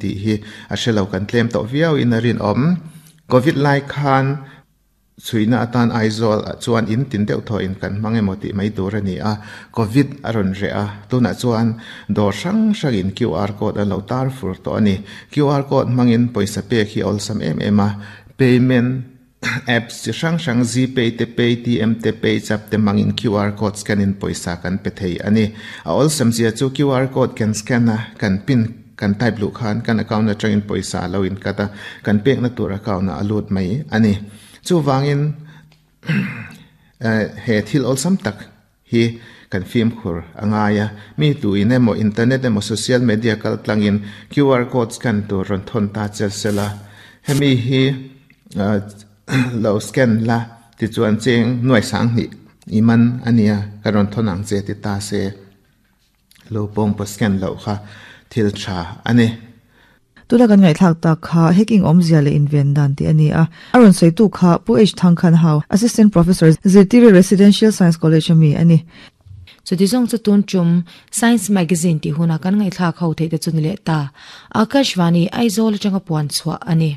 Tih hi a hre lo kan tlem tawh viau in a rinawm. Covid lai khan chhuihna atan Aizawl ah chuan in tin deuh thaw in kan hmang emaw tih mai tur a ni a, Covid a rawn reh a, tunah chuan dawr hrang hrang in QR code an lo tar fur tawh a ni. QR code hmangin pawisa pek hi a awlsam em em a, payment Apps chi hrang hrang Gpay te, Paytm te, PayZapp te hmangin QR code scan in pawisa kan pe thei a ni. A awlsam zia chu QR code kan scan a, kan pin kan type luh khan kan account atangin pawisa a lo in cut a, kan pekna tur account ah a lut mai a ni. Chuvangin he thil awlsam tak hi kan fimkhur a ngai a, mi tu in emaw internet emaw social media kal tlangin QR code scan tur rawn thawn ta chel sela, hemi hi lo scan la tichuan cheng nuai sanghnih i man a nia ka rawn thawn ang che ti ta se. Lo pawng pawh scan loh kha thil tha a ni. Tuna kan ngaihthlak tak kha hacking awmzia leh inven dan tih a ni a. A rawn sawitu kha Pu H Thangkhan Hau, Assistant Professor, Zirtiri Residential Science College a mi a ni. Chuti zawng chu tun tum Science Magazine tih huna kan ngaihthlak ho theih te chu ni leh ta. Akashvani, Aizawl atanga puan chhuah a ni.